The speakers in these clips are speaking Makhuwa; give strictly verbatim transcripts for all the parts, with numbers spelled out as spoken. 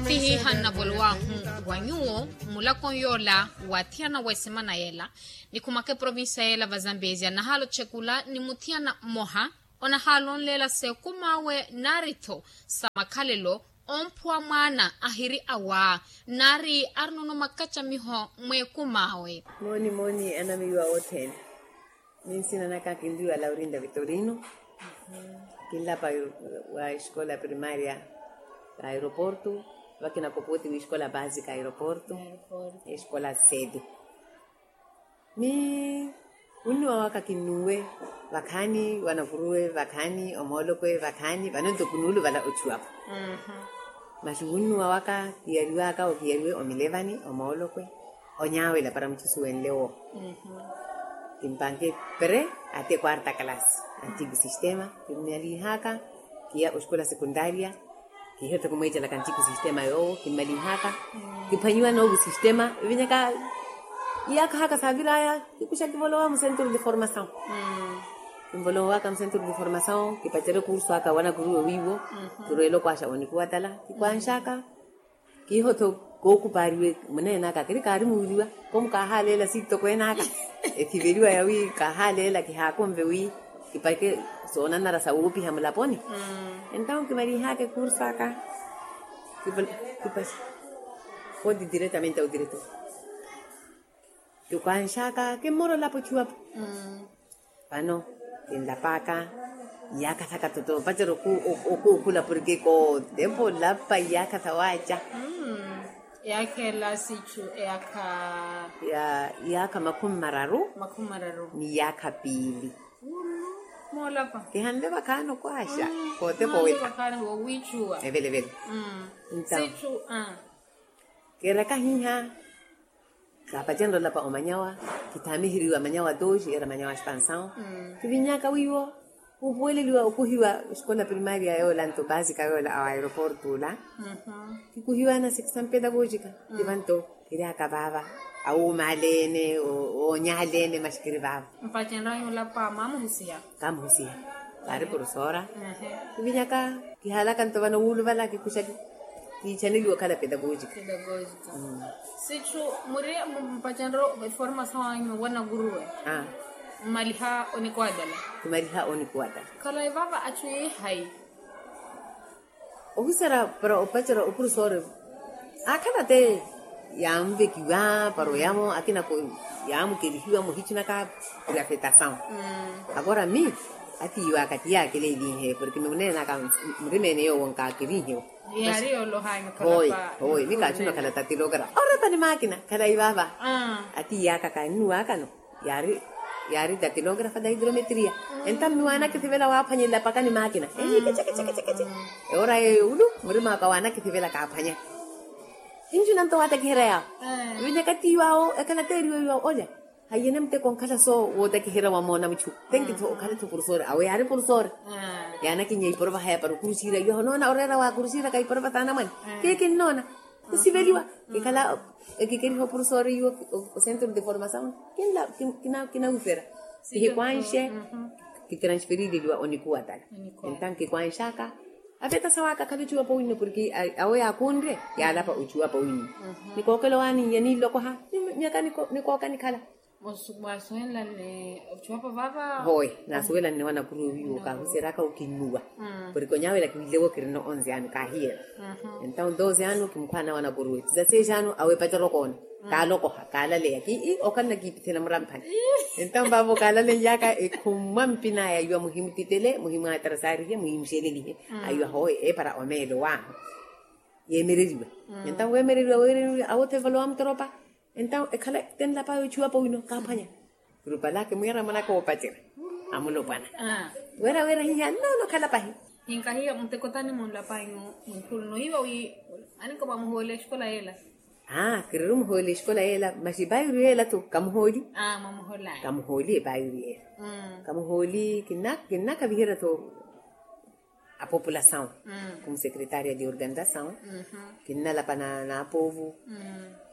Ti hiiha nnavolowahu wa nyuwo mmulakoni yoola wa athiyana wa esemana yeela, nikhumaka eprovincia yeela va zambezia nahaala otxekula ni muthiyana mmoha onahaala onleela s'ekum'awe naari-tho sa makhalelo, omphuwa mwaana ahiri awa naari arinono makacamiho mw'ekum'awe. Mooni mooni anamiiwa othene. Minsina naka kinliwa laurinda vitorino. Kinlapa wa escola primaria ka aeroporto. Vakina kopoti wi escola basica aeroporto. Escola sede. Ni wunnuwa waka kinnuwe vakhaani wanakuruwe vakhaani omoolokwe vakhaani vano nto kinuuluvala ochuwapo. Masi wunnuwa waka kiyariwaka okiyariwe omilevani omoolokwe. Onyawela para muchusuwenle wo. Kimpanke pre ate quarta classe antigo sistema kimmalihaka. Kiya oxikola sekundaria. Kihiyo tho kimweecelaka antigo sistema yoowo kimmalihaka. Kiphwanyiwa noovo sistema vinyaka. Iyakha haka saviraya kikuxa kivolowa mu centro de formação. Kimvolowaka mu centro de formação kipacerya okursu aka wanakuruwe wiiwo. Kirweela okwaxa onikuwatala kikwanxaka. Kiiho tho kookupariwe muneenaka kiri kaarimuwiriwa. Komu kaahaleela sittokwenaka. Ethiveliwa yawi kaahaleela kihaakonve wi kipake soonanara sawoopiha mulaponi. Entawo kimalihaka ekursu aka kipase koti diretamente au diretor. Kikwanxaka kimmora olapo ochuwapo. Vano kinlapaka iyakhathaka toto pacerya okuukhula porke kootepa olapa iyakhatha waaca. Yakhela sichu eyakha. Iyakha makhumi mararu. Makhumi mararu ni iyakha piili. Moolapa kihanle vakhaani okwaxa. Kootepa owela. Evele evele. Sichu. Keeraka hiha. Kaapacenrya olapa omanyawa. Kithamiheriwa manyawa doji era manyawa expansaw. Kivinyaka wiiwo kupuweleliwa okuhiwa escola primaria yoola nto basika yoola awo aeroporto ola. Kikuhiwa na section pedagogica. Kivanto kiryaka vaava awuumaalene. Oonyaalene masi kiri vaava. Mpacenryanyu olapa mwamuhusiha. Kamuhusiha. Kaari porofesora. Kivinyaka kihalaka nto vano wuuluvala kikuxa kiichaneliwa okhala pedagogica. Sitthu muri mpacenryo eformasaw anyu wanakuruwe. Mmaliha onikuwatala. Kimaliha onikuwatala. Khalayi vava achu yeehayi. Ohuserya para opacerya oprofesore. Akhala te yaanvekiwa para oyamo akina yaamukelihiwa muhichunaka. Grafetasaw. Akora mi atiiwaka ti yaakeleelihe porke mi muneenaka murimeene yoowo nkaakelinhewo. Hoyi hoyi mi kaachuna okhala tatilografa orapa ni maakina khalayi vaava. Atiiyaka kannuwakano yaari tatilografa da hidrometria. Enta mmi waanakithivela waaphwanyelela paka ni maakina. Ehiikecekecekecekece. Ewora yeyo ulu murim'aka waanakithivela kaaphwanya. Hinjuna nto waatakiherya yaawo. Vinyaka tiiwawo ekhala teeriwe iwawo olya. Haiyene muteko onkhala so wootakiherya wamoona muchu. Tenkitho okhala-tho porofesore awo yaari porofesore. Yaanakinnya iporova haya para okurusiira iwaho noona oreera wa kurusiiraka iporova t'anamwane. Kii kinnoona. Kusiveliwa kikhala ekikeriha oporofesore iwo. Ocentro de formasaw kinawifera. Kihikwanxe. Kitransferileliwa onikuwatala. Entawo kikwanxaka. Avetasawaaka akhala ochuwapa owinno porke awo yaakunre yaalapa ochuwapa owinno. Nikookela owaani yaniilokoha. Nyaka nikooka nikhala. Mwasuwelanne ochuwapa vava. Hoye naasuwelanne wanakuruwe wiiwo kaahuseryaka okinnuwa. Porke onyawela kiwileko kirino onze anu kaahiyela. Entawo doze anu kimukhwana wanakuruwe tizaseexe anu awepacerya okoona. Kaalokoha kaalaleya kii okhala nakiipithela muramphani. Entawo vavo kaalaleiyaka ekhumwa mpinaya iwa muhimutitele muhimwatarasaarihe muhimuxelelihe. Aiwa hoye eepara omeelo waahu. Yeemereriwa. Entawo weemereriwa weemereriwa awo tevolowa mutoropa. Entawo ekhala tenlapaya ochuwapa wino kaaphwanya. Kurupalaka emwiyara mwanaka woopacerya amulopwana. Wira wira hiya nnoona okhala pahi. Hinkahiya muteko tani munlapanyu. Munkhulu noiwa wi anikopwa muhoole exikola yeela. Aa kiriri muhooli exikola yeela masi epaayuru yeela-tho kamuhooli. Kamuhooli epaayuru yeela. Kamuhooli kinnakaviherya-tho. Apopulasaw. Kumusekretaria de organizasaw. Kinnalapa na apoovu.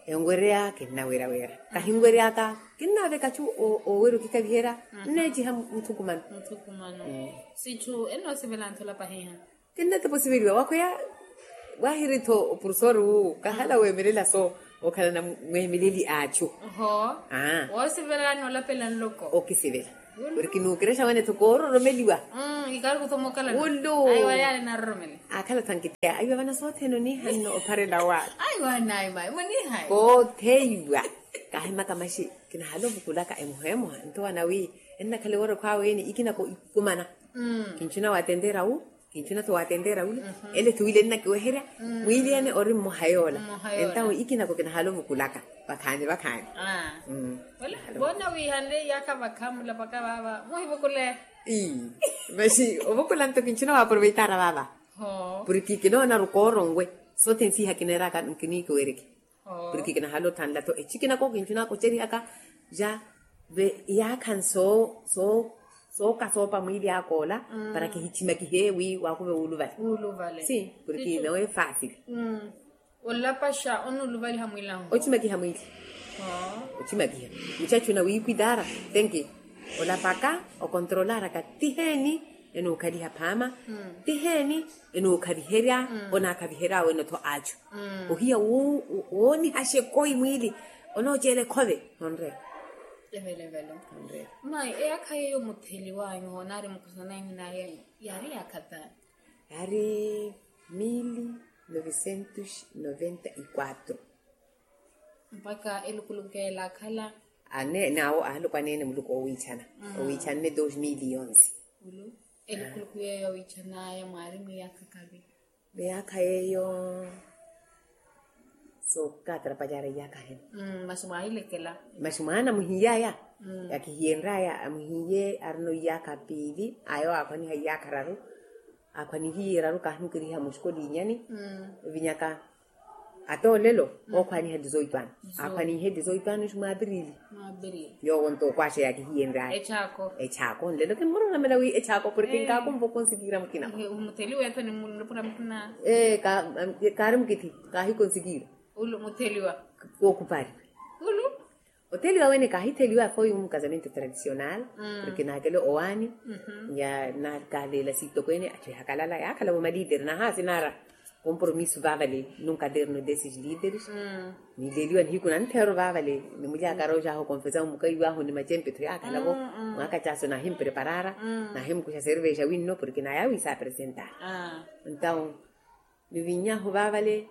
Enwereya kinnawera wera kahinwereyaka. Kinnaveka chu owera okikaviherya. Nneeciha muthukumano. Sitthu ennoosivela nthu olapahiha. Kinnatipa osiveliwa wakhweya. Wahiri-tho oprofesori wu kahala weemelela so okhalana mweemeleli a achu. Oho. Woosivelelani olapela nloko okisivela. Porke nuukerexa wane-tho koororomeliwa. Ikaari kuthomokalana. Ulu. Aiwa yaale naroromele. Akhala thankitheya aiwa vana sothene oniihanno opharela wa. Aiwa naima munihayi. Kootheiwa. Kahimaka maxi kinahala ovukulaka emoha emoha nto wana wi ennakhala ewoora ekhwaawe ene ikinako ikumana. Kinchuna watenteera wu. Kinchuna-tho watenteera wulu. Ele thuwile nnakiweherya. Mwiili ene ori mmoha yoola. Entawo ikinako kinahala ovukulaka vakhaani vakhaani. Voona wiihanle iyaakha vakhaani mulapaka vaava muhivukule. Ii. Maxi ovukula nto kinchuna waaproveitaara vaava. Porke kinoona rukooronwe sothene siiha kineeraka nkiniikiwereke. Porke kinahala otthanla-tho echikinako kinchuna kocerihaka ja ve iyaakha nsoo soo sooka soopa mwiili akoola para kihichimakihe wi waakuve wuuluvale. Si porke nowe fasil. Olapaxa onuuluvaliha mwiilanhu ochimakiha mwiili. Ochimakiha muchachu na wiipwitaara tenki olapaka okontrolaraka tiheeni enuukhaliha phaama tiheeni enuukhaliherya onaakhaviherya wene-tho achu. Ohiya woonihaxa ekoi mwiili onooceela ekhove. Onreera. Evelevelo. Mayi eyaakha yeeyo mutheliwanyu hoonaari mukusananyu naye yaari yaakha taani? Yaari mili novecentos noventa y quatro. Mpakha elukuluku keela akhala. Ane nawo ahalopwaneene muluku owiichana owiichanne dos mili yonse. Elukuluku yeeyo owiichanaya mwaari mwiyaakha kavi? Miyaakha yeeyo sookaatarapalyara iyaakha hene. Masi mwaahilekela. Masi mwaana muhiiyaya yakihiyenryaya amuhiiye arina iyaakha piili ayo aakhwaniha iyaakha raru. Aakhwanihiye raru kaahimukeriha muxuko liinyani. Evinyaka ata olelo ookhwaniha dizoito ano. Aakhwanihe dizoito ano ixi mwaapirili. Yoowo nto okwaxa yaakihiyenryaya. Echaako nlelo kimmuroromela wi echaako porke nkaakumva okonsikiira mukina. Mutheliwa eto ni murupura mukina. Ee kaari mukithi kaahikonsikiira. Ulu mutheliwa. Kookupariwe. Ulu. Otheliwa wene kaahitheliwa foi mu casamento tradicional. Porke naakele owaani ya naakaleela sitokweene achu ehakalala yaakhala-vo maliideri nahaasinaara compromisso vaavale num caderno desses lideres. Niileliwa nihiku nantheero vaavale nimulyakara oxaaha okonfesa mukaiwaahu ni macempe-tho yaakhala-vo. Mwaakachaaso naahimpreparaara naahimukuxa servexa winno porke naya wiisaapresentara. Entawo nivinnyahu vaavale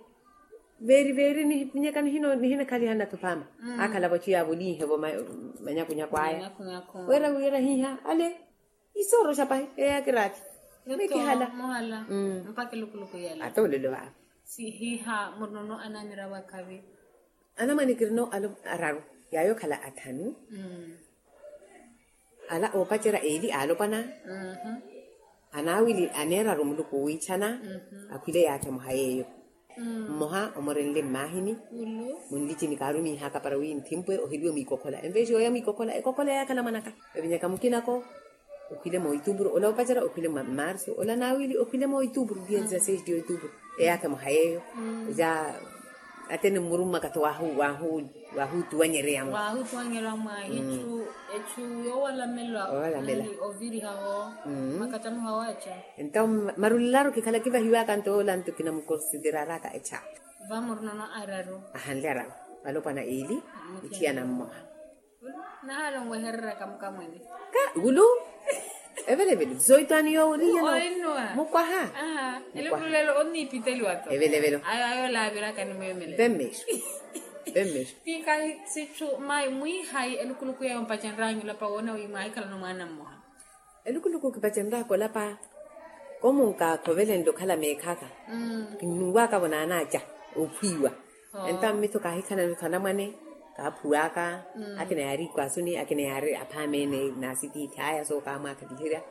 veeri veeri nivinyaka nihinakhaliha nnatho phaama. Aakhala-vo achu yaavolihe-vo manyakunyaku aya. Weera wira hiiha ale isooroxa pahi eyaakiraathi. Mikihala. Mpaka elukuluku yela ata olelo vaava. Sihiiha murinono anaamira wakhavi. Anamwane kirino alo araru yaayo okhala athanu. Ala oopacerya eeli aalopwana. Anaawili aneeraru muluku owiichana. Akhwile yaakha emoha yeeyo. Mmoha omorenle mmaahini. Munlichini kaarumiihaka para wi nthimpwe oheliwe mwiikokhola enveexi yooya mwiikokhola ekokhola yaakhala mwanaka. Evinyaka mukinako okhwile moitupuru ola oopacerya okhwile mmarsu ola naawili okhwile moitupuru dia dizaseisti oitupuru. Eyaakha emoha yeeyo ja atene mmurumma kathi waahuutuwanyereya mwa. Waahuutuwanyereya mwa echu echu yoowalamela. Ovirihaho makattanuha waacha. Entawo marulelaru kikhala kivahiwaka nto yoola nto kinamukonsideraraka echaru. Vamurinono araru. Ahanle araru alopwana eeli muthiyana mmoha. Nahala onwehereraka mukamwene ka wulu. Evelevelo zoitwani yowuriya no mukwaha. Elekulelo onnipiteliwa to evelevelo ayo ayo laaviraka ni mwemele. Vemmeexo. Vemmeexo. Tikahi sitthu mayi mwiihayi elukuluku yeyo mpacenryanyu olapa woona wi mwaahikhalana omwaana mmoha. Elukuluku kipacenraka olapa komunka khovelenle okhala meekhaka. Kinnuwaka vo naanaaca ophwiiwa. Entawo mmitho kaahikhalana-tho anamwane kaaphuwaka. Akina yaari ikwaasuni akina yaari aphaama ene naasitiithi aya sookaamwaakhakiherya.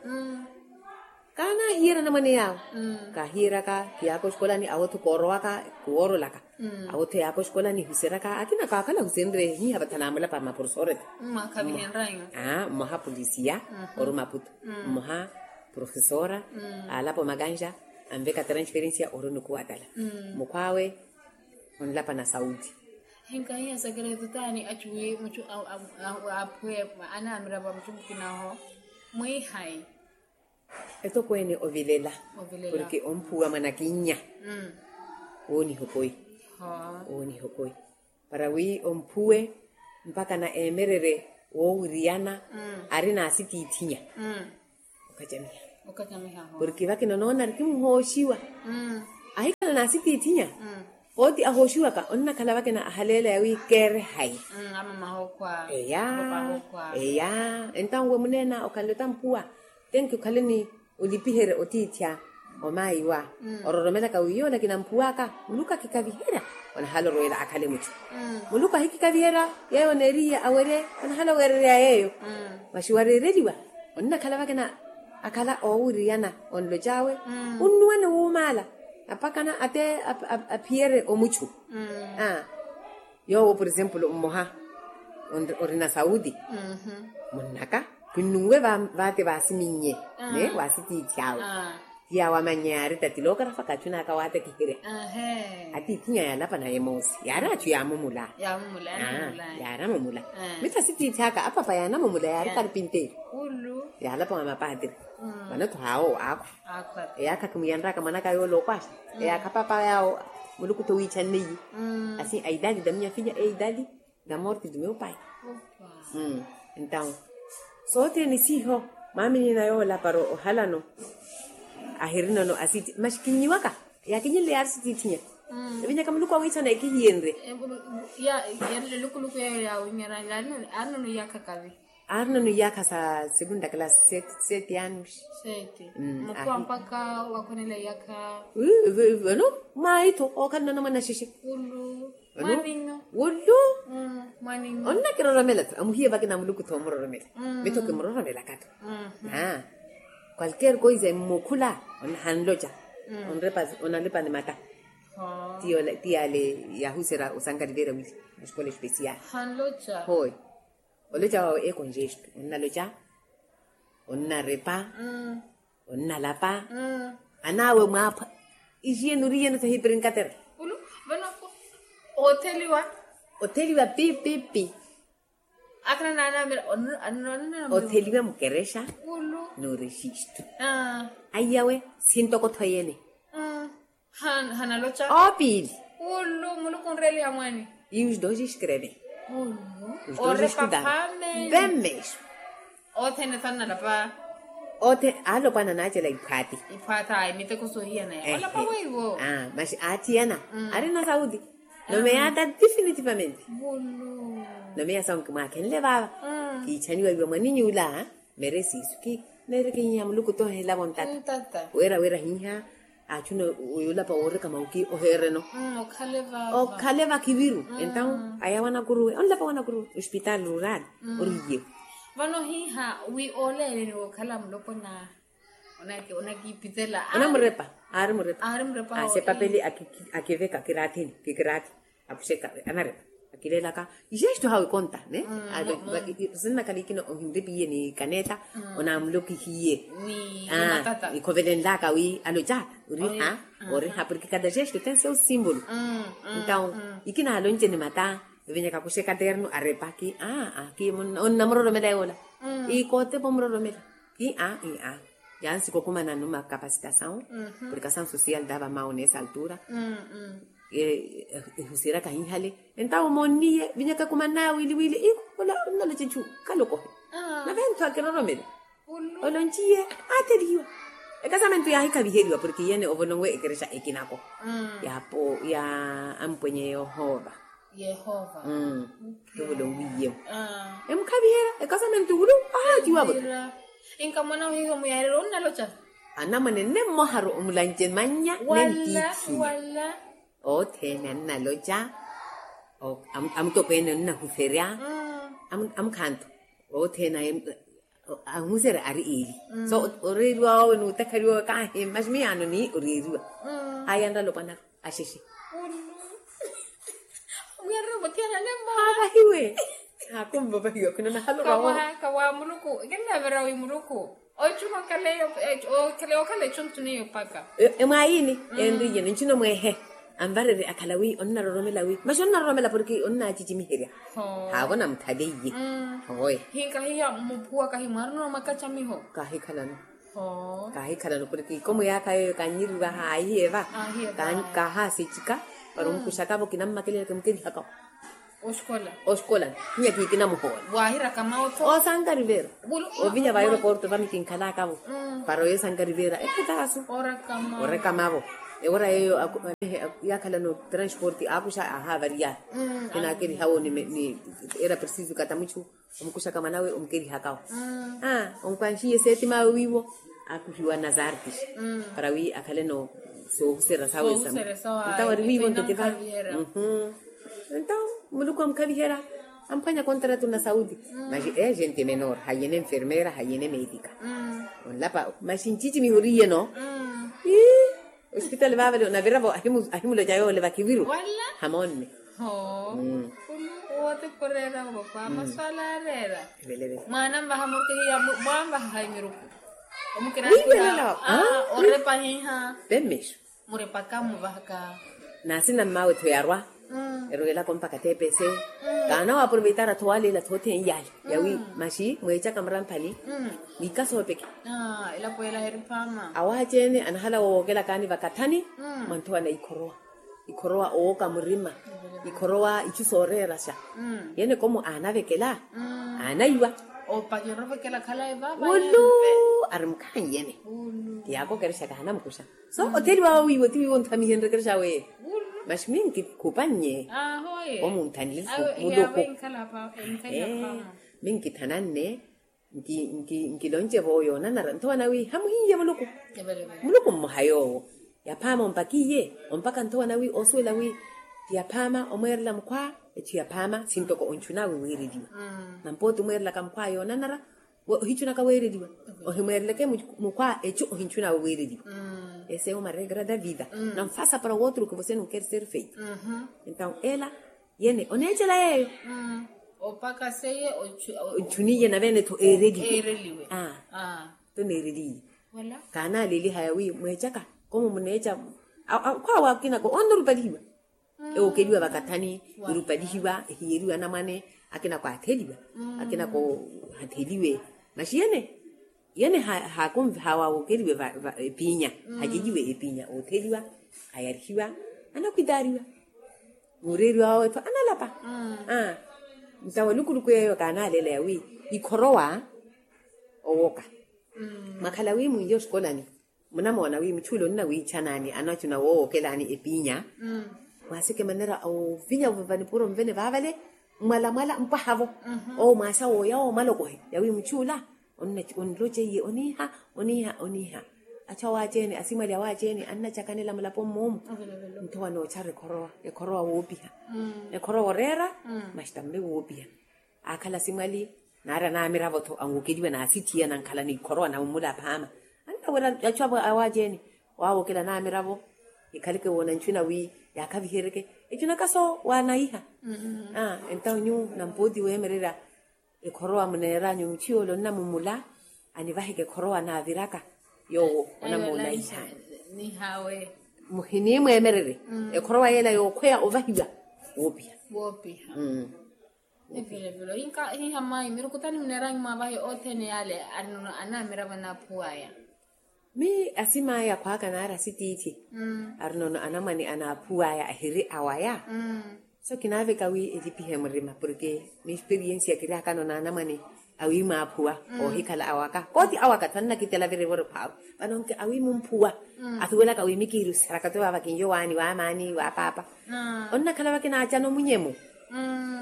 Kaanaahiyerya anamwane yaawo kaahiyeryaka kiyaaka oxikolani awo-tho koorowaka kuwoorolaka. Awo-tho yaaka oxikolani ehuseryaka akina kaakhala ahusenrye hiiha vathana amulapa maporosore-tho. Mmoha polisiya ori maputo. Mmoha profesora alapa omakanxa anveka transferencia ori onikuwatala. Mukhw'awe onlapa na saudi. Hinkahiya sakereto taani achuwi muchu aphwe anaamira va muchu mukinaho mwiihayi. Etokweene ovilela porke omphuwa mwanakinnya. Wooniha okoi. Wooniha okoi para wi omphuwe mpakha na emererye woowiriyana ari n'asitiithinya. Okachamiha porke vakina onoona ari kimuhooxiwa. Ahikhala n'asitiithinya. Pooti ahooxiwaka onnakhala vakina ahaleela yawi keere hayi. Eya. Eya. Entawo nwe muneena okhanle otamphuwa tenki okhale ni olipiherya otiithya. Omaayiwa ororomelaka wi yoola kinamphuwaka muluku akikaviherya. Onahala orweela akhale muchu muluku ahikikaviherya. Yeeyo oneeriye awerye onahala oweererya yeeyo. Masi wareereliwa onnakhala vakina akhala oowiriyana onloc'awe. Onnuwane wuumaala apakana ate aphiyerye omuchu. Yoowo por exemplo mmoha orina saudi munnaka kinnunwe vaate vaasiminnye ne waasitiithi awe. Ti awe amannya yaari tatilookarafa kachunaka waatakiherya. Atiithinya yaalapa naye moosi yaari achu yaamumula. Yaari amumula. Mittha asitiithi aka apapa yaanamumula yaari karpinteeri. Yaalapa wa mapaatiri vano-tho haawo aakhwa. Eyaakha kimuyanraka mwanaka yoola okwaaxa eyaakha papa yaawo. Muluku-tho wiichanneiye. Asin aidadi da minha filha eidadi da morte do meu pai. Entawo sothene siiho mwaaminiina yoola para ohalano ahirinono asiti masi kinnyiwaka. Yaakinyinle yaari sitiithinya evinyaka muluku awiichana ekihiyenrye. Yalukuluku yeeyo yaawinyana arinono iyaakha kavi. Arinono iyaakha sa segunda classe sete anos. Sete. Mukhuwa mpakha wakhonela iyaakha. Vano mwaitho ookhalinono mwanashishi. Wulu. Onnakiroromela-tho amuhiye vakina muluku-tho omuroromela. Mitho kimuroromelaka-tho. Qualquer coisa emmukhula hanloca. Onrepa onalepa ni mata. Ti yale yahuserya osankaliverya wili escola especial. Hoi. Oloca wawe ekonjesto onnaloca onnarepa. Onnalapa. Anaawe mwaapha ixiye nuriyeno sahiprinkatera. Ulu vano otheliwa. Otheliwa pipipi. Akhala naanamela. Otheliwa mukerexa. Ulu nurexisto. Aiyawe sintokotho yene. Hanaloca. Opiili. Ulu muluku onreeliha mwaani. Iwuxi doxi escreve. Ulu orepa phameli. Bemexo. Othene thanalapa. Othe alopwana naacela iphwati. Iphwata imiteko sohiyana ya olapa weiwo. Masi aathiyana. Ari na saudi. Nomeya ata definitivamente. Nomeya saunki mwaakhenle vava. Kiichaniwa iwe mwaninyula. Mere siisu ki neereke iha muluku tohelavo ntata. Wira wira hiha achuna oyolapa woreka mauki ohereno. Okhale vakiviru. Entawo aya wanakuruwe onlapa wanakuruwe hospital rural. Oriye. Vano hiha wi oleeleni wokhala mulopona. Onakipitela. Onamurepa. Aari murepa. Aari murepa. Sepapeli akiveka kirathini kikirathi. Apuxeka anarepa akileelaka. Ijesto hawe konta ne. Sinnakhala ikina ohinripiye ni kaneta. Onamulokihiye. Ikhovelenlaka wi aloca. Oriha oriha porke kada jesto tense o simbolo. Entawo ikina alonce ni mata. Evenyaka kuxeka terno arepa ki aa ki onnamuroromela yoola. Ikotepa omuroromela ki aa. Yansi kokumana numa capacitasawu. Porke asawu social dava mawu nesa altura. Ehusiryaka hinhale entawo monniye vinyaka kumanaya wili wili iko. Onnaloca echu kalokohe. Nave nthu akiroromela. Olonciye atheliwa. Ekasamentu yahikhaviheriwa porke iyene ovolonwe ekerexa ekinako. Ya ampwenye yohova. Yehova. Tuvulo wiye. Emukhaviherya ekasamentu wulu. Ahaatiwa vota. Inkamwana ohiho muyarelo onnaloca. Anamwane nemmoharu omulanje mannya nentithinya. Othene annaloca. Amutokweene onnahuferya. Amukhanto othene. Ahuserya ari eli so oreeriwa wawe nuutakhaliwa wawe kahi masi miyaano ni oreeriwa. Aya nralopwanaru axexe. Muyarira omuthiyana nemmo. Avahiwe. Akumva ovahiwa khuna nahaloka wo. Kawa muluku kinnavira wi muluku ochuma okhaleya okhala echu ntuneyo paka. Emwayini enriye ninchino mwehe. Anvarerye akhala wi onnaroromela wi masi onnaroromela porke onnacicimiherya. Haavo namuthaleiye. Hoye. Hinkahiya muphuwa kahi mwarina omwakachamiho. Kahikhalano. Kaahikhalana opuriki komo yaakha yeeyo kannyiriwa haahiye va. Kaahaaseccika para omukuxaka-vo kinammakelela kimukeriha kawo. Oxikola. Oxikola. Nyakiikina muhoola. Waahira kamawo tho. Osankari veera. Ovinya va aeroporto vamikinkhalaka-vo. Para oyo sankari veera ekhatasu. Orekama-vo. Ewora yeeyo yaakhalana otransporti aakuxa ahaavariya. Kinaakeriha-wo ni era preciso katamuchu. Omukuxaka mwan'awe omukerihaka-wo. Onkwanxiye seetimawe wiiwo akuhiwa nas artes para wi akhale no soohuserya sawe. Ntawo ari wiiwo nto tiva. Ntawo muluku amukhaviherya amphwanya kontratu na saudi. Maxi agente menor hayene enfermera hayene metika. Onlapa maxi ncicimiho oriye no. Ii. Ospitali vaavale onaviravo ahimuloca yoole vakiviru. Hamonne. Hoo. Khulu wote khureera oko kwa maswala areera. Mwaana mvaha murkihiya mwanvaha haimiruku. Omukiraakiha. Orepahiha. Pemexo. Murepaka muvahaka. Naasina mmawe tho yarwa. Erwelaka ompaka tepese. Kaana waaproveitara tho waleela tho othene yale yawi maxi mweecaka muramphani. Niikasoopeke. Elapo ela heriphama. Awaacene anahala woowokelakani vakathani. Mwa nthowa na ikhorowa. Ikhorowa owooka murima. Ikhorowa ichu sooreeraxa. Yene komo aanavekela. Aanaiwa. Opakera ovekela khalayi vava. Wulu. Ari mukhaani yene. Ti yaakokerexaka hanamukuxa. So otheliwa wawe wiiwo ti wiiwo onthamihenrekerexa awe. Maxi minkikhupa nnye. Omunthanile muluku. Minkithana nne. Nkilonce-vo yoonanara nthowa nawi hamuhiiye muluku. Muluku mmoha yoowo. Yaphaama ompakiiye. Ompaka nthowa nawi oosuwela wi ti yaphaama omweerela mukhwa. Echu yaphaama sintoko onchunawe weereliwa. Nampooti omweerelaka mukhwa yoonanara. Ohichunaka weereliwa. Ohimweereleke mukhwa echu ohinchunawe weereliwa. Ese uma regra da vida. Nanfasa para wootro que você não quer ser feito. Entaw ela yene oneecela yeeyo. Opaka seiye. Ochuniye navene-tho eereliwe. Tho neereliye. Kaanaleliha yawi mweecaka komo muneeca. Akhwaawe akinako onrupalihiwa. Ewookeliwa vakathani. Irupalihiwa ehiyeriwa anamwane. Akinako atheliwa. Akinako hatheliwe. Maxi yene yene haakonvihawa wookeliwe epiinya. Haceliwe epiinya ootheliwa. Hayarihiwa anakhwitaariwa. Muureeriwa wawe-tho analapa. Ntawa lukuluku yeeyo kaanaaleela yawi ikhorowa owoka. Mwakhala wi mwiiye oshikolani munamoona wi muchuule onina wiichanani anachuna woowokelani epiinya. Mwaaseke manera ovinya vanipuuro mvene vaavale. Mwalamwala mpwaha-vo owo mwaasa wooya owo mwalokohe yawi muchuula. Onloce iye oniiha oniiha oniiha. Achu awaaceene asimwali awaaceene annacakanela mulapo mmoomu. Nthowa noochara ekhorowa ekhorowa woopiha. Ekhorowa oreera. Maxi tamme woopiha. Aakhala asimwali naari anaamiravo-tho anwokeliwa naasithiya nankhala n'ikhorowa nammula aphaama. Anna wira achu awaaceene waawokela anaamiravo. Ikhaleke woona nchuna wi yaakhaviheryeke. Echunaka so waanaiha. Entaw nyu nampooti weemererya ekhorowa muneeranyu muchiyoole onnamummula. Anivaheke ekhorowa naaviraka yoowo onamuulaihani. Muhinimweemererye ekhorowa yeela yookhweya ovahiwa woopiha. Woopiha. Evilevile ohinka hiha mayi mirukutani muneeranyu mwaavahe othene yaale arinono anamiravo anaaphuwaya. Mi asim'aya akhwaaka naari asitiithi arinono anamwane anaaphuwaya ahiri awaya. So kinaaveka wi elipihe murima porke mi experiensi ya kiriakano n'anamwane awi mwaaphuwa oohikhala awaka kooti awaka thannakitela viri vori phaaru. Vano nki awi mumphuwa athuwelaka wi mikiiruseraka tuvaava kinyo waani waamaani waapaapa. Onnakhala vakinaacana omunyemo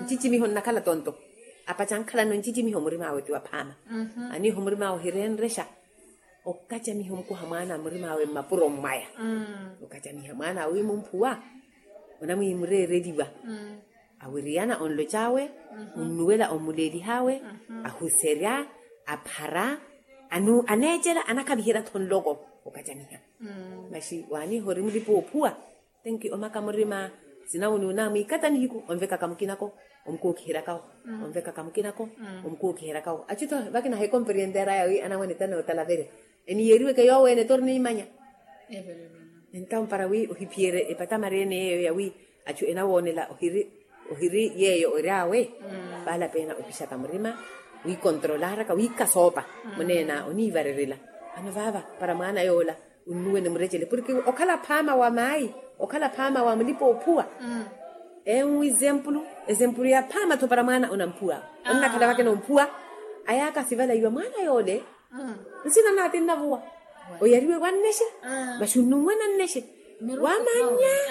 ncicimiho nnakhala tonto. Apacankhalano ncicimiho murim'awe ti waphaama. Aniiho murim'awe ohirenrexa. Okacamiha omukuha mwaana a murim'awe mmapuro mmwaya. Okacamiha mwaana awi mumphuwa onamwiimureereliwa. Awiriyana onloc'awe onnuwela ommulelihawe ahuserya aphara aneecela anakhaviherya-tho nloko. Okacamiha maxi waaniiha ori mulipa oophuwa. Tenki omaka murima sinawuni unamwikata nihiku onvekaka mukinako omukookiheryakawo. Onvekaka mukinako omukookiheryakawo achu-tho vakina hekompreenderaya wi anamwane tanootalavere. Eniyeriweke yoowo ene tori niimanya. Entawo para wi ohiphiyerye epatamareene yeeyo yawi achu enawoonela ohiri yeeyo ory'awe. Vaala peena opixaka murima wiikontrolaraka wiikasoopa muneena oniivarerela. Ano vaava para mwaana yoola onnuwene murecele porke okhala phaama wa maayi, okhala phaama wa mulipa oophuwa. Enwi ezempulu, ezempulu ya phaama-tho para mwaana onamphuwa. Onnakhala vakena omphuwa. Ayaaka sivalaiwa mwaana yoole. Nsina naati nnavuwa. Oyariwe wannexe. Masi onnunwena nnexe. Wamanya.